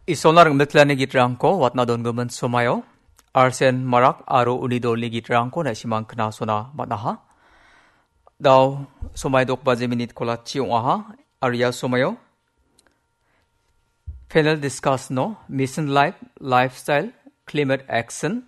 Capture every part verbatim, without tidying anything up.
Isolna ringmetlani gitrangko watna dongimin somaio, Arsen Marak aro uni dolni gitrangko na·simang knasona man·aha. Dao somai dok baje minit kolatchi ong·aha, aro ia somaio panel discuss no, Mission Life, Lifestyle, Climate Action,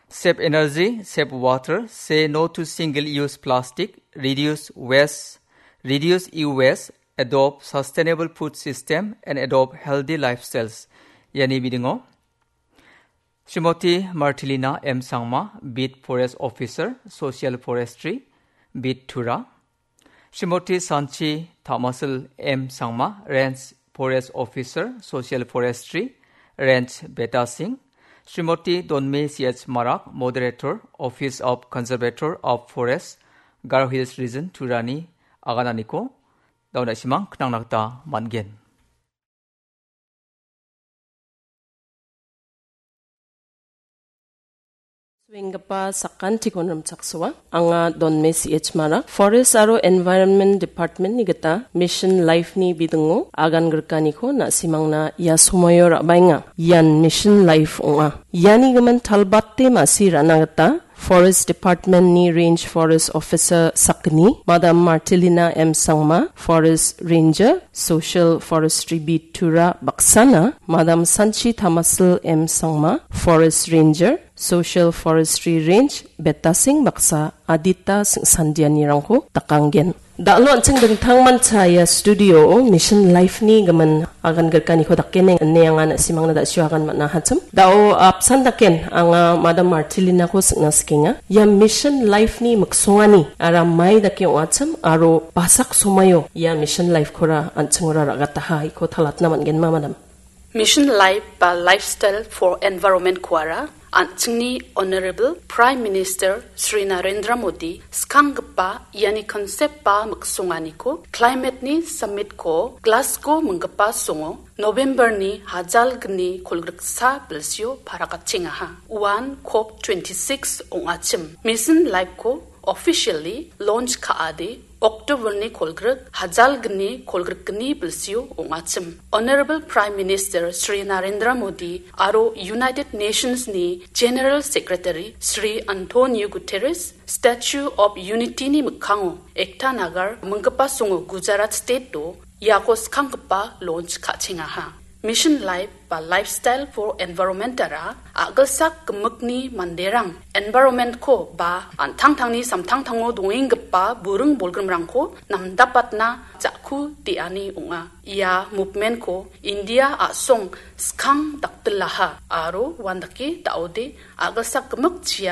Save Energy, Save Water, Say No to Single-Use Plastic, Reduce Waste, Reduce E-Waste, Adopt Sustainable Food System, and Adopt Healthy Lifestyles. Iani bidingo, Srimoti Martilina M Sangma, Beat Forest Officer, Social Forestry, Beat Tura. Srimoti Sanchi Tamasil M Sangma, Range Forest Officer, Social Forestry, Range Betasing. Srimoti Donme C H Marak, Moderator, Office of Conservator of Forest, Garo Hills Region, Turani agananiko, dao na·simang knangna gita man·gen. Swenggipa sakantikon rimchaksoa. Anga Donme C H Mara, Forest aro Environment Department-ni gita Mission Life-ni bidingo agan grikaniko na·simangna ia somoio ra·baenga. Ian Mission Life ong·a. Iani gimin talbate ma·si ra·na gita Forest Department-ni Range Forest Officer sakgni, Madam Martilina M Sangma, Forest Ranger, Social Forestry Beat Tura baksana, Madam Sanchi Tamasil M Sangma, Forest Ranger, Social Forestry Range, Betasing baksa adita singsandianirangko dakanggen. Da·alo an·ching dingtangmancha ia studio-o Mission Life-ni gimin agan grikaniko dakgen ine anga na·simangna da·sio agan man·a hachim. Da·o apsan daken anga Madam Martilinako singna sikenga. Ia Mission Life-ni miksongani ara mai dake ong·achim aro basak somaio ia Mission Life-kora an·chingora ra·gataha iko talatna man·genma, Madam? Mission Life ba Lifestyle for Environment-koara an·chingni Honorable Prime Minister Shri Narendra Modi skanggipa iani concept ba miksonganiko Climate-ni Summit-ko Glasgow minggipa songo November-ni hajalgni kolgriksa bilsio parakatchengaha. Uan COP twenty-six ong·achim. Mission Life-ko officially launch ka·ade October-ni kolgrik, hajalgni kolgrikgni bilsio ong·achim. Honorable Prime Minister Shri Narendra Modi aro United Nations-ni General Secretary Shri Antonio Guterres Statue of Unity-ni mikkango Ekta Nagar minggipa songo Gujarat State-o iako skanggipa launch ka·chengaha. Mission Life ba Lifestyle for Environment-ara a·gilsak gimikni manderang environment-ko ba an·tangtangni samtangtango dongenggipa buring bolgrimrangko namdapatna ja·ku de·ani ong·a. Ia movement-ko India a·song skang dakdilaha aro uandake da·ode a·gilsak gimik chia